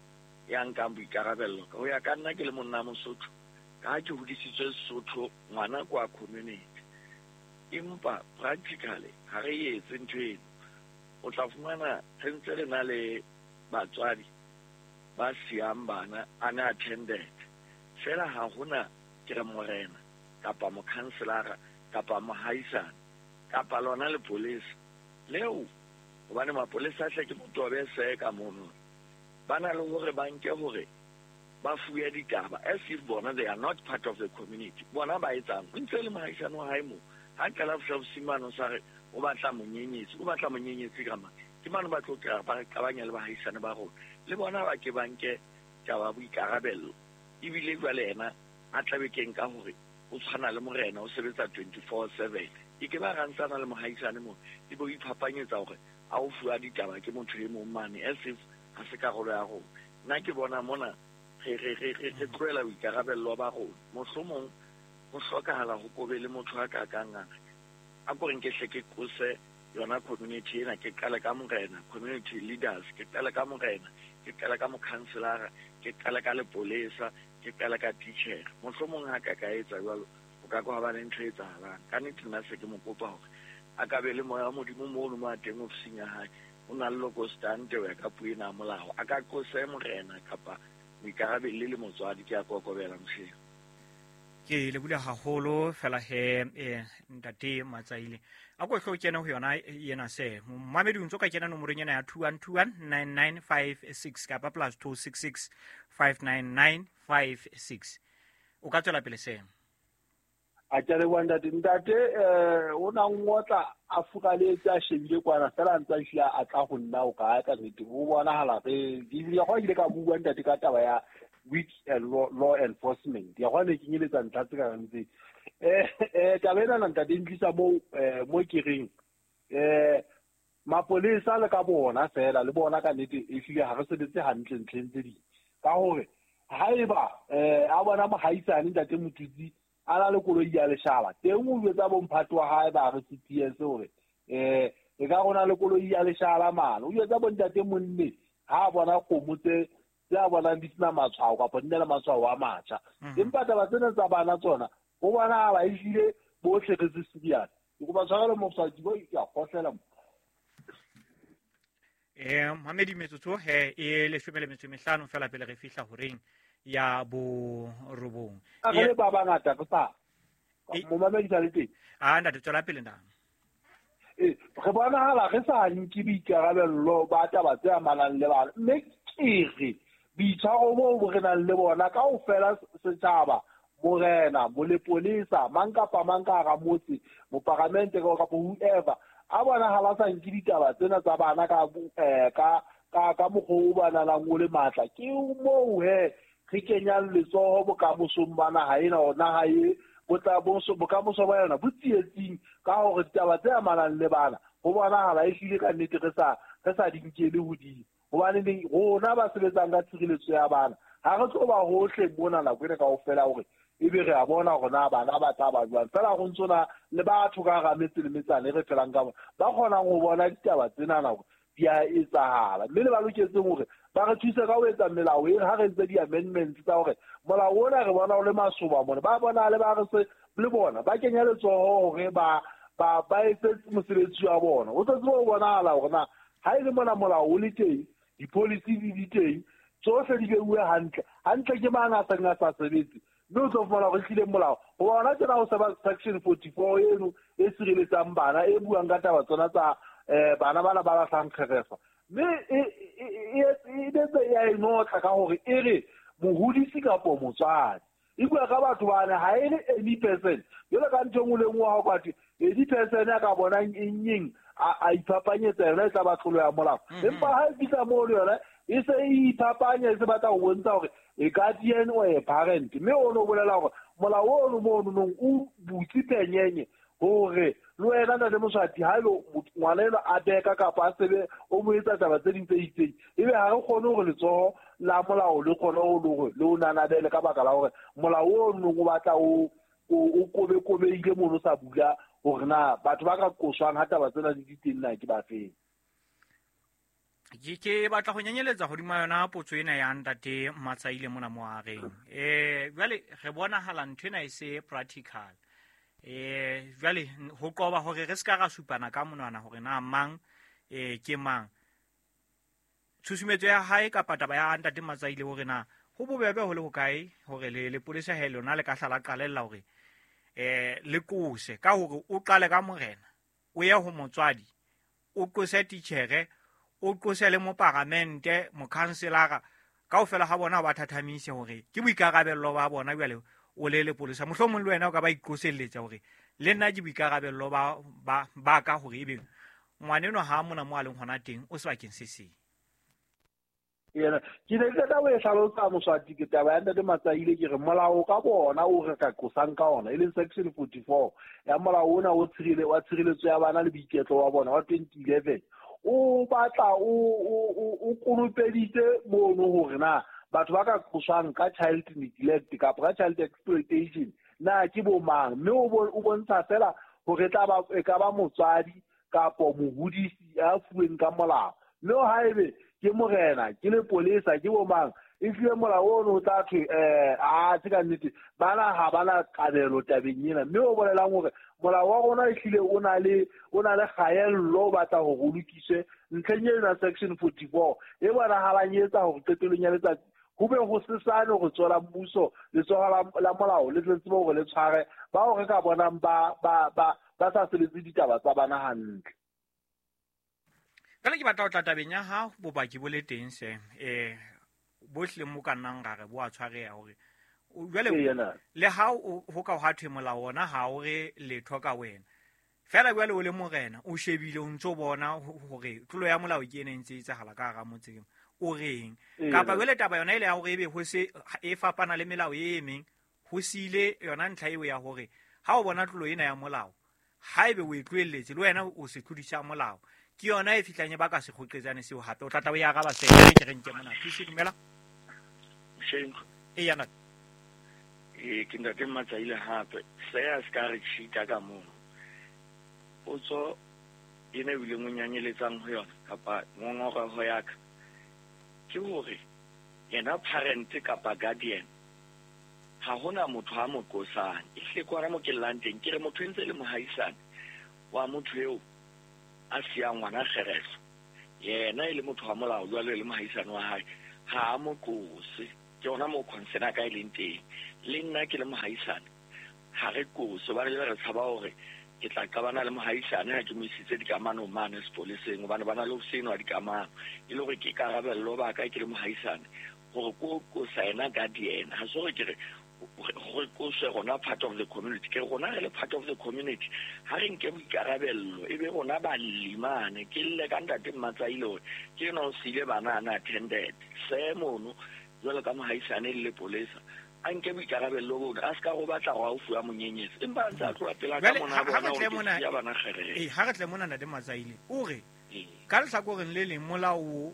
[SPEAKER 10] ya nkang boikarabello? Ho ya ka nna ke le monna Mosotho, ka ha ke hodisitswe Sesotho, ngwana kwa community. Empa practically ha re etse ntho eno. O tla fumana re ntse re na le batswadi ba siyang bana unattended. Fela ha hona ke re morena kapa mokhanselara kapa mohaisane kapa lona lepolesa leo, hobane mapolesa a hle ke motobe se ka mono. Ba na le hore ba nke hore ba fuwe ditaba as if bona they are not part of the community. Bona ba etsang o ntse le mohaisane wa hae moo. Ha qala fihla bosimane o sa re o batla monyenyetsi, o batla monyenyetsi ka mang? Ke mane ba tlo kry-a ba re qabanya le bahaisane ba rona. Le bona ba ke ba nke taba boikarabello. Ebile jwale yena a tlabe ke nka hore o tshwana le morena, o sebetsa 24/7. E ke ba rantsana le mohaisane moo, e bo iphapanyetsa hore a o fuwa ditaba ke motho e mong mane as if ha se karolo ya rona. Nna ke bona mona re tlohela boikarabello ba rona. Mohlomong ho hlokahala ho kobe le motho a ka kang a ko re nke hle ke qose yona community ena, ke qale ka morena, community leaders, ke qale ka morena, ke qale ka mokhanselara, ke qale ka lepolesa, ke qale ka teacher. Mohlomong ha ka etsa jwalo o ka kwa ba le ntho e etsahalang. Ka nnete nna se ke mo kopa hore a ka be le moya wa Modimo mono mo a teng ofising ya hae, o na le lokostante ho ya ka puo ena ya molao. A ka qose morena kapa moikarabelli le motswadi. Ke a kokobela mosheng.
[SPEAKER 8] Ke lebule haholo fela he ntate Matsaile. A ko hlo kena ho yona yena se. Momamedi o ntso ka kena nomorong ena ya 21219956 kapa +266 59956. O ka tswela pele se.
[SPEAKER 9] A ke le wa ntate, ntate o na ngotla a furaletse a shebile kwana fela ntsa hlile a tla ho nna o ka ka nnete o bonahala re di ya go ile ka bua ntate ka taba ya weak law enforcement ya gone ke nyeletsa ntlha tse ka reng tse taba ena na ntate ntlisa mo mo ke reng mapolesa le ka bona fela le bona ka nnete e hlile ha re sebetse hantle ntlheng tse ding ka hore haeba a bona mohaisane ntate Motutsi a na le koloi ya leshala teng o jwetsa bomphato wa hae ba re CPS hore e ka rona le koloi ya leshala mane o jwetsa bontate monne Ha a bona kgomo tse a bonang di sena matshwao kapa di na le matshwao a matjha. Empa taba tsena tsa bana tsona ho bonahala ehlile bohle re se serious. Ke kopa tshwarelo mosadi bo ke a kgohlela mo.
[SPEAKER 8] Mamedi metsotso he e 15 fela pele re fihla horeng ya 9.
[SPEAKER 9] A re le ba bangata re sa momamedi sa le teng.
[SPEAKER 8] A ntate tswela pele na.
[SPEAKER 9] Re bonahala re sa nke boikarabello ba taba tse amanang le bana, mme ke re boitshwaro boo re nang le bona kaofela setjhaba, morena, molepolesa, mang kapa mang ka hara motse, moparamente kapa whoever, a bonahala sa nke ditaba tsena tsa bana ka ka mokgwa o ba nalang o le matla. Ke moo he re kenyang letsoho bokamosong ba naha ena, hore naha e bokamoso ba yona bo tsietsing ka hore ditaba tse amanang le bana ho bonahala ehlile ka nnete re sa di nkele hodimo. Hobane rona ba sebetsang ka tshireletso ya bana ha re tlo ba hohle mona nako ena kaofela hore ebe re a bona hore na bana ba tla ba jwang. Fela go ntso na le batho ka hara metse le metsana e re phelang ka bona ba kgonang ho bona ditaba tsena hore di a etsahala, mme le ba loketseng hore ba re thuse ka ho etsa melao e ha re entse di-amendments tsa hore molao ona re bona o le masoba mona, ba bona le ba re se le bona ba kenya letsoho hore ba etse mosebetsi wa bona. O tlo tseba ho bonahala hore na ha e le mona molao o le teng, di-policy di teng, tsohle di beuwe hantle hantle, ke mang a seng a sa sebetse, mme o tlo fumana hore ehlile molao hoba hona tjena ho seba section 44 eno e sireletsang bana e buang ka taba tsona tsa bana bana ba lahlang kgerefa, mme e betse ya e notla ka hore e re mohodisi kapo motswadi e bua ka batho bana ha e le any person jwalo ka ntho e nngwe le nngwe ha o ka thwe any person a ka bonang eng eng a iphapanyetsa yona e tla ba tlolo ya molao. Empa ha e fihla moo le yona e se e iphapanya, e se batla ho bontsha hore e guardian or a parent, mme ono bolela hore molao ono mono nong o butse penyenye hore le wena ntate Moswati ha ebe ngwana eno a beka kapa a sebe o mo etsa taba tse ding tse itseng, ebe ha re kgone hore letsoho la molao le kgone hore le o nanabele ka baka la hore molao ono o batla o kobekobeile mono sa bula hore na batho ba ka qoswang ha taba tsena di teng na ke ba feng.
[SPEAKER 8] Ke batla go nyenyeletsa hodima yona potso ena ya ntate Matsaile mona mo areng. Jwale re bonahala ntho ena e se practical. Jwale ho qoba hore re ska ra supana ka monwana hore na mang ke mang. Tshusumetso ya hae kapa taba ya ntate Matsaile hore na ho bobebe ho le hokae hore le lepolesa he lona le ka hlala qalella hore le qose ka hore o qale ka morena, o ye ho motswadi, o qose titjhere, o qose le moparamente, mokhanselara, kaofela ha bona ba thathamise hore ke boikarabello ba bona jwale o le lepolesa. Mohlomong le wena o ka ba iqoselletsa hore le nna ke boikarabello ba ka hore ebe ngwaneno ha mona mo a leng hona teng o sebakeng se seng.
[SPEAKER 9] Yena ke ne ke tla o e hlalosa Moswati ke taba ya ntate Matsaile, ke re molao ka bona o re ka qosang ka ona e leng section 44 ya molao ona o wa tshireletso ya bana le boiketlo wa bona wa 2011 o batla o konopeditse mono hore na batho ba ka qoswang ka child neglect kapa ka child exploitation na ke bo mang, mme o bontsha fela hore e ka ba motswadi kapo mohodisi a fuweng ka molao, mme haebe ke morena ke lepolesa ke bo mang e hlile molao ono o tla thwe a tse ka nnete bana ha bana kabelo tabeng ena, mme o bolelang hore molao wa rona ehlile o na le kgaello, o batla hore o lokiswe ntlheng ena section 44 e bonahalang e etsa hore qetellong ya letsatsi ho be ho sesane hore tswela mmuso letsoho la molao le tle tsebe hore le tshware bao re ka bonang ba sa sebetse ditaba tsa bana hantle.
[SPEAKER 8] Jwale ke batla ho tla tabeng ya ha bopaki bo le teng se bohle mo ka nnang ra re bo a tshwareha hore jwale le ha ho ka hwa thwe molao ona ha o re letho ka wena fela jwale o le morena o shebile o ntso bona hore tlolo ya molao ke ena e ntse e etsahala ka hara motseng o reng, kapa jwale taba yona ile ya hore ebe ho se e fapana le melao e meng ho sile yona ntlha eo ya hore ha o bona tlolo ena ya molao haebe o e tlohelletse le wena o se tlodisa molao ke yona e fihlang e baka sekgoqetsane seo hape o tla tla o e araba se ke re nke mona thusi dumela e yana
[SPEAKER 10] ke ntate Matsaile hape se a se ka re cheata ka mono potso ena ebile mo nyanyeletsang ho yona kapa ngongoreho ya ka Ke hore yena parent kapa guardian ha hona motho a mo qosang. Ehlile ke hona mo ke llang teng, ke re motho e ntse e le mohaisane wa motho eo a siyang ngwana kgereso, yena e le motho wa molao jwalo e le mohaisane wa hae, ha a mo qose. Ke hona moo concern ya ka e leng teng. Le nna ke le mohaisane ha re qose, hobane jwale re tshaba hore ke tla qabana le mohaisane ha ke mo isitse dikamanong mane sepoleseng, hobane ba na le ho senwa dikamano. E le hore ke karabello ba ka ke le mohaisane hore ko qosa yena guardian. Ha se hore ke re re qoswe rona part of the community, ke rona re le part of the community, ha re nke boikarabello e be rona balli mane. Ke lle ka ntate Mmatsaile hore ke enwa o siile bana unattended se mono jwalo ka mohaisane le lepolesa, a nke boikarabello bono, a se ka go batla go a o fuwa monyenyetsi, empa a ntse a tloha pela ka mona a bona hore ke siya bana kgerere.
[SPEAKER 8] Ee, ha re tle mona ntate Matsaile, o re ka lehlakoreng le leng molao o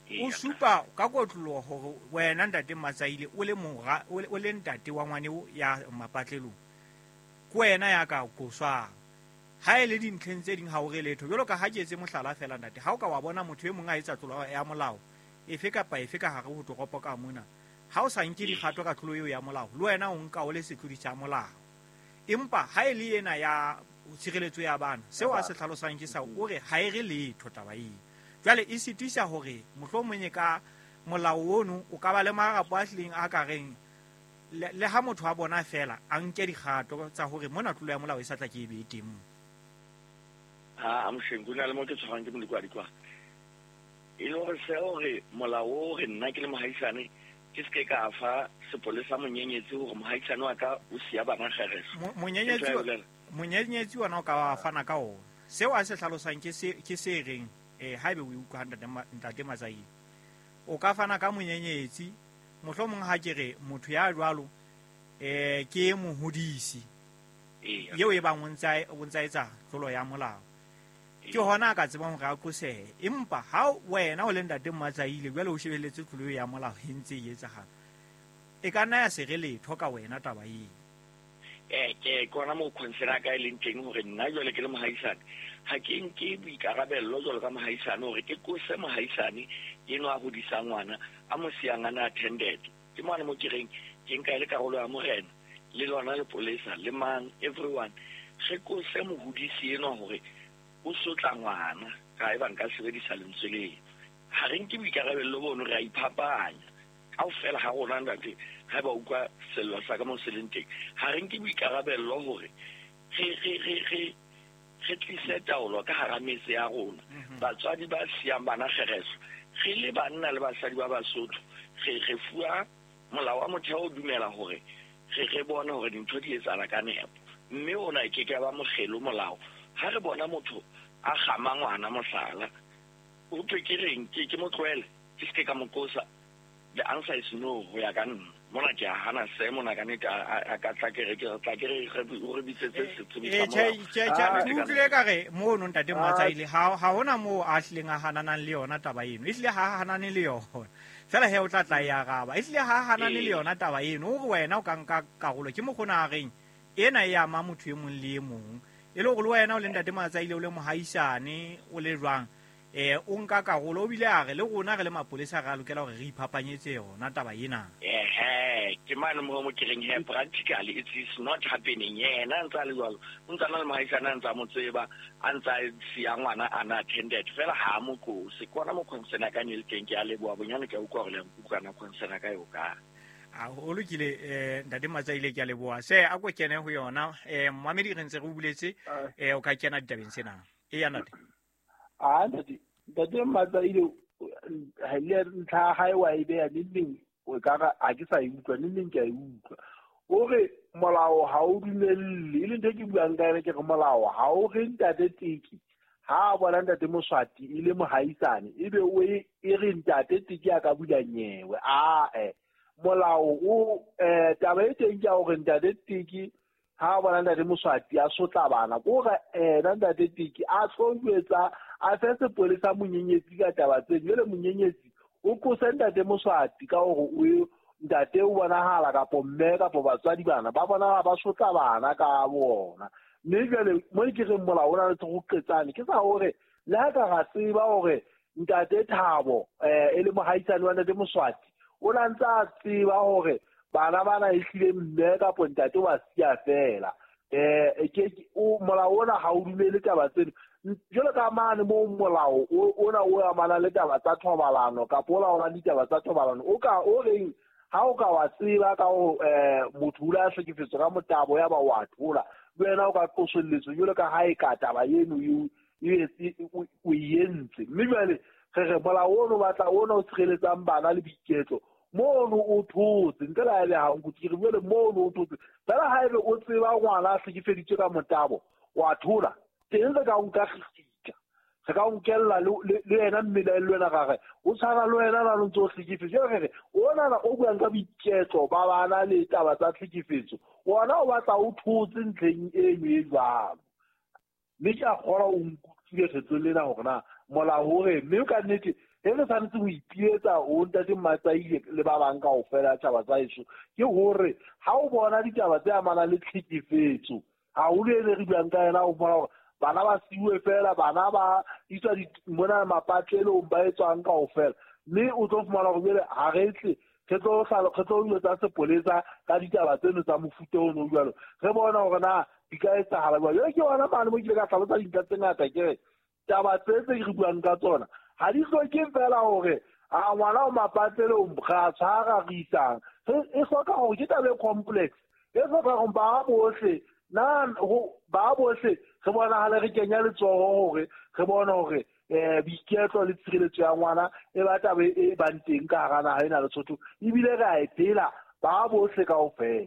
[SPEAKER 8] o supa ka kotloloho hore wena ntate Matsaile o le mora, o le ntate wa ngwane o ya mapatlelong, ke wena ya ka qoswang. Ha e le dintlheng tse ding ha o re letho. Jwalo ka ha ke etse mohlala feela ntate, ha o ka wa bona motho e mong a etsa tlolo ya molao efe kapa efe ka hare ho toropo ka mona, ha o sa nke dikgato ka tlolo eo ya molao, le wena o nka o le setlodi sa molao. Empa ha e le ena ya tshireletso ya bana, seo a se hlalosang ke sa o re ha e re letho taba eo. Jwale e sitisa hore mohlomong e ka molao ono o ka ba le marapo a hlileng a ka reng le ha motho a bona feela a nke dikgato tsa hore mona tlolo ya molao e sa tla ke e be teng mo.
[SPEAKER 10] Ha Mosheng, ho na le mo ke tshwarang ke molekwadikwa. E le hore se hore molao o re nna ke le mohaisane ke se ke ka fa sepolesa monyenyetsi hore mohaisane wa ka o siya bana kgereso.
[SPEAKER 8] Monyenyetsi ona o ka wa fana ka ona. Seo a se hlalosang ke se reng haebe o utlwa ntate Matsaile, o ka fana ka monyenyetsi, mohlomong ha ke re motho ya jwalo ke mohodisi eo e bang o ntsa etsa tlolo ya molao, ke hona a ka tsebang hore a qosehe. Empa ha wena o le ntate Matsaile jwale o shebelletse tlolo ya molao e ntse e etsahala, e ka nna ya se re letho ka wena taba eo.
[SPEAKER 10] Ke kona moo concern ya ka e leng teng hore nna jwale ke le mohaisane ha ke nke boikarabello jwalo ka mohaisane hore ke qose mohaisane enwa a hodisang ngwana a mo siyang a na attended. Ke mane mo ke reng ke nka e le karolo ya morena le lona lepolesa le mang everyone, re qose mohodisi enwa hore o sotla ngwana ka eba nka sebedisa lentswe leo. Ha re nke boikarabello bono, re a iphapanya kaofela ha rona ntate. Ha ba utlwa sello sa ka mo se leng teng, ha re nke boikarabello hore re tlise taolo ka hara metse ya rona. Batswadi ba siyang bana kgereso, re le banna le basadi ba Basotho, re fuwa molao wa motheo o dumela hore re bone hore dintho di etsahala ka nepo, mme ona e ke ke ba mokgelo molao. Ha re bona motho a kgama ngwana mohlala, o thwe ke reng ke mo tlohele, ke se ke ka mo qosa? The answer is no, ho ya ka nna. Mona ke a hana se mona ka nnete a ka tla ke re ke tla ke re re bitsetse setsebi sa molao.
[SPEAKER 8] Ke utlwile ka re mono ntate Matsaile ha hona moo a hlileng a hananang le yona taba eno. Ehlile ha hanane le yona. Feela he o tla tla e araba. Ehlile ha hanane le yona taba eno, o re wena o ka nka karolo ke mokgona a reng ena e ama motho e mong le e mong. E le hore le wena o le ntate Matsaile o le mohaisane o le jwang, o nka karolo, o bile a re le rona re le mapolesa re a lokela hore re iphapanyetse yona taba ena.
[SPEAKER 10] Ke mane mo mo ke reng he practically it is not happening. Yena ntsa le jwalo, o ntsa na le mohaisane a ntsa mo tseba, a ntsa siya ngwana a na attended fela ha mo qose. Ke ona mo concern ya ka ne le teng. Ke a leboha bonyane, ke a utlwa hore le a nkutlwa na concern ya ka eo ka.
[SPEAKER 8] A o lokile ntate Matsaile, ke a leboha. Se a ko kene ho yona mmamedi re ntse re buletse, o ka kena ditabeng tsena. Eya ntate.
[SPEAKER 9] A ntate Matsaile ha le ntlha ha e wa e beha neng o ka re ha ke sa e utlwa neng ke a e utlwa. O re molao ha o dumelle, e le ntho e ke buang ka yona, ke re molao ha o re ntate Teki ha a bona ntate Moswati e le mohaisane ebe o e re ntate Teki a ka bula nyewe. Ae molao o taba e teng ke ya hore ntate Teki ha bona ntate Moswati a sotla bana, ko re ena ntate Teki a tlo jwetsa a fe sepolesa monyenyetsi ka taba tse. Jwale monyenyetsi o qose ntate Moswati ka hore o ntate o bonahala kapo mme kapo batswadi bana ba bonahala ba sotla bana ka bona. Mme jwale mo ke reng molao o na le go qetsane ke sa hore le ha ka ra tseba hore Ntate Thabo e le mohaisane wa Ntate Moswati o na ntse a tseba hore bana bana e hlile mme kapo ntate wa siya fela. Molao ona ha o dumele taba tseno jwalo ka mane mo molao ona o amana le taba tsa thobalano kapa o laolang ditaba tsa thobalano o ka o reng ha o ka wa tseba ka ho motho o la hlekefetswa ka motabo ya ba wa thola le wena o ka qosolletswa jwalo ka ha e ka taba eno o entse. Mme jwale re re molao ono batla ona o tshireletsang bana le boiketlo mono o thotse ntle le ha e le ha nkutlwe ke re jwale mono o thotse fela ha ebe o tseba ngwana a hlekefeditswe ka motabo wa thola teng re ka nka kgitla re ka nkella le yena mmele le wena gagwe o tshwana le wena na ntse o hlekefetso re re ona o buang ka boiketlo ba bana le taba tsa tlhekefetso ona o batla o thotse ntlheng eno e jwalo. Mme ke a kgolwa o nkutlwile kgetlong lena hore na molao hore mme ka nnete e re tshwanetse ho ipiletsa ho Ntate Matsaile le ba bang kaofela tjhaba tsa heso ke hore ha o bona ditaba tse amanang le tlhekefetso haholo e re buang ka yena o bona hore bana ba siuwe fela bana ba iswa mona mapatlelong ba etswang kaofela mme o tlo fumana hore jwale ha re tle re tlo dilo tsa sepolesa ka ditaba tseno tsa mofuta ono jwalo re bona hore na di ka etsahala jwang. Jwale ke yona mane mo ke ile ka hlalosa dintlha tse ngata ke re taba tse tse re buang ka tsona ha di hloke fela hore a ngwana o mapatlelong ra tshwara re isang e hloka hore ke taba e complex e hloka hore ba bohle ba bohle re bonahale re kenya letsoho hore re bone hore boiketlo le tshireletso ya ngwana e ba taba e bang teng ka hara naha ena Lesotho ebile re a e phela ba bohle kaofela.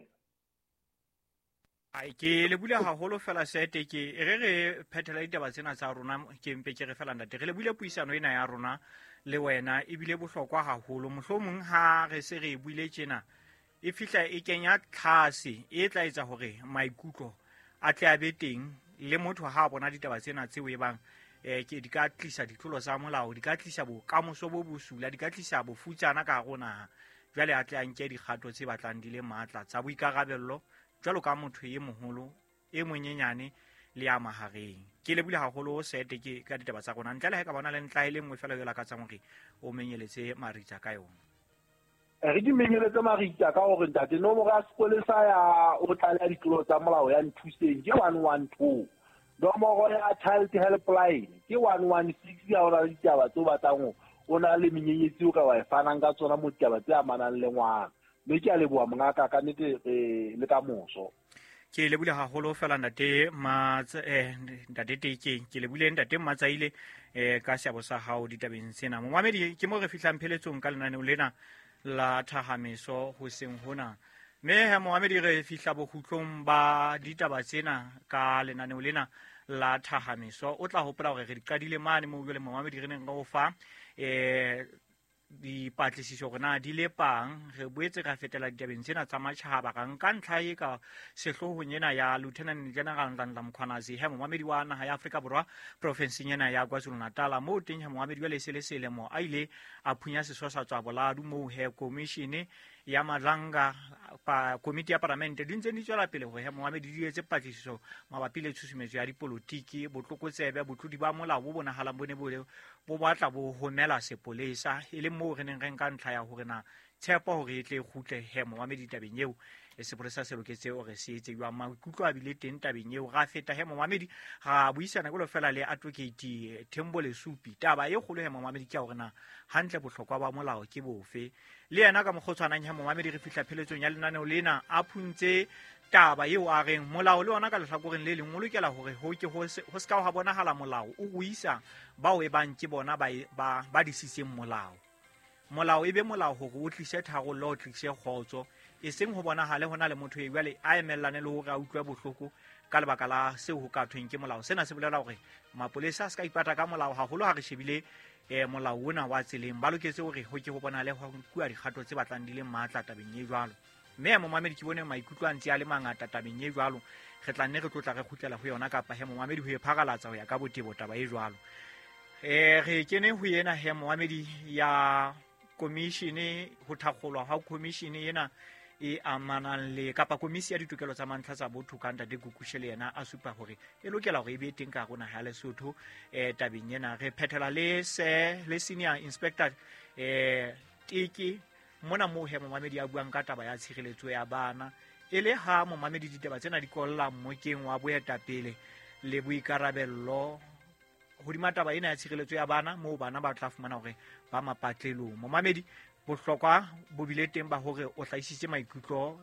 [SPEAKER 8] Ai ke le bule haholo fela sete ke e re phethela ditaba tsena tsa rona ke mpe ke re fela ntate re le bule puisano ena ya rona le wena ebile bohlokwa haholo mohlomong ha re se re buile tjena e fihla e kenya tlhase e tla etsa hore maikutlo a tle a be teng le motho ha a bona ditaba tsena tseo e bang ke di ka tlisa ditlolo tsa molao di ka tlisa bokamoso bo bosula di ka tlisa bofutsana ka hare ho naha jwale a tle a nke dikgato tse batlang di le matla tsa boikarabello jwalo ka motho e moholo e monyenyane le ya mahareng. Ke lebile haholo sete ke ka ditaba tsa rona ntle le ha ka bona le ntla e le nngwe fela yo lakatsang hore o menyeletse maritsa ka yona.
[SPEAKER 9] Re di menyeletse maritsa ka hore ntate nomoro ya sepolesa ya o tlaleha ditlolo tsa molao ya Nthuseng ke 112 nomoro ya Child Helpline ke 116 ya ona le ditaba tse o batlang o na le menyenyetsi o ka wa e fanang ka tsona mo ditaba tse amanang le ngwana. Mme ke a leboha mongaka ka nnete le ka moso.
[SPEAKER 8] Ke lebile haholo fela ntate ntate Teke ke lebile ntate Matsaile ka seabo sa hao ditabeng tsena. Momamedi ke mo re fihlang pheletsong ka lenaneo lena la thahameso hoseng hona. Mme he momamedi re fihla bokgutlong ba ditaba tsena ka lenaneo lena la thahameso. O tla hopola hore re di qadile mane moo jwale momamedi re neng re o fa dipatlisiso hore na di lepang. Re boetse ra fetela ditabeng tsena tsa matjhaba ra nka ntlha e ka sehloohong ena ya Lieutenant General Nhlanhla Mkhwanazi he momamedi wa naha ya Afrika Borwa profenseng ena ya KwaZulu-Natal moo teng he momamedi jwale e se le selemo a ile a phunya seswa tswa boladu moo he commission ya Madlanga komiti ya paramente di ntse di tswela pele hore he momamedi di etse patlisiso mabapi le tshusumetso ya dipolotiki botlokotsebe botlodi ba molao bo bonahalang bo ne bo batla bo homela sepolesa e le moo re neng re nka ntlha ya hore na tshepo hore e tle e kgutle he momamedi tabeng eo e sepolesa se loketse hore se etse jwang. Maikutlo a bile teng tabeng eo ra feta he momamedi ra buisana jwalo fela le Advocate Thembo Lesupi. Taba e kgolo he momamedi ke hore na hantle bohlokwa ba molao ke bofe le yena ka mokgwa o tshwanang he momamedi re fihla pheletsong ya lenaneo lena a phuntse taba eo a reng molao le ona ka lehlakoreng le leng o lokela hore ho ke ho se ka ha bonahala molao o ruisa bao e bang ke bona ba disitseng molao. Molao e be molao hore o tlise tharollo o tlise kgotso e seng ho bonahale hona le motho e jwale a emellane le hore a utlwe bohloko ka lebaka la seo ho ka thweng ke molao. Sena se bolela hore mapolesa a se ka ipata ka molao haholo ha re shebile molao ona wa tseleng ba loketse hore ho ke ho bonahale ho nkuwa dikgato tse batlang di le matla tabeng e jwalo. Mme momamedi ke bone maikutlo a ntse a le mangata tabeng e jwalo re tla nne re tlotla re kgutlela ho yona kapa he momamedi ho e pharalatsa ho ya ka botebo taba e jwalo. Re kene ho yena he momamedi ya commission ho thakgolwa ha commission ena E amanang le kapa komisi ya ditokelo tsa mantlha tsa botho ka ntate Kukushe le yena a supa hore e lokela hore e be teng ka hare ho naha ya Lesotho. Tabeng ena re phethela le se le senior inspector Teke mona moo he momamedi a buang ka taba ya tshireletso ya bana. E le ha momamedi ditaba tsena di kolla mmokeng wa boetapele le boikarabello hodima taba ena ya tshireletso ya bana, moo bana ba tla fumana hore ba mapatlelong. Momamedi, bohlokwa bo bile teng ba hore o hlahisitse maikutlo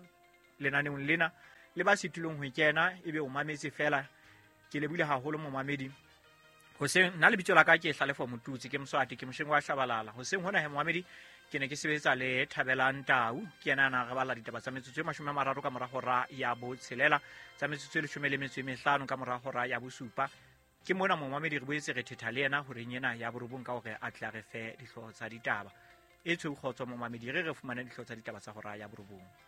[SPEAKER 8] lenaneong lena le ba sitilweng ho kena, ebe o mametse fela. Ke lebohile haholo momamedi. Hoseng nna lebitso la ka ke Hlalefo Motutsi, ke Moswati, ke mosheng wa Shabalala. Hoseng hona he momamedi ke ne ke sebetsa le Thabelang Tau, ke yena a na re balla ditaba tsa metsotso e 30 ka mora hora ya 6, tsa metsotso e 15 ka mora hora ya 7. Ke mona momamedi re boetse re thetha le yena horeng ena ya 9 ka hore a tle a re fe dihlooho tsa ditaba. E tshweu kgotso momamedi, re fumane dihlooho tsa ditaba tsa hora ya 9.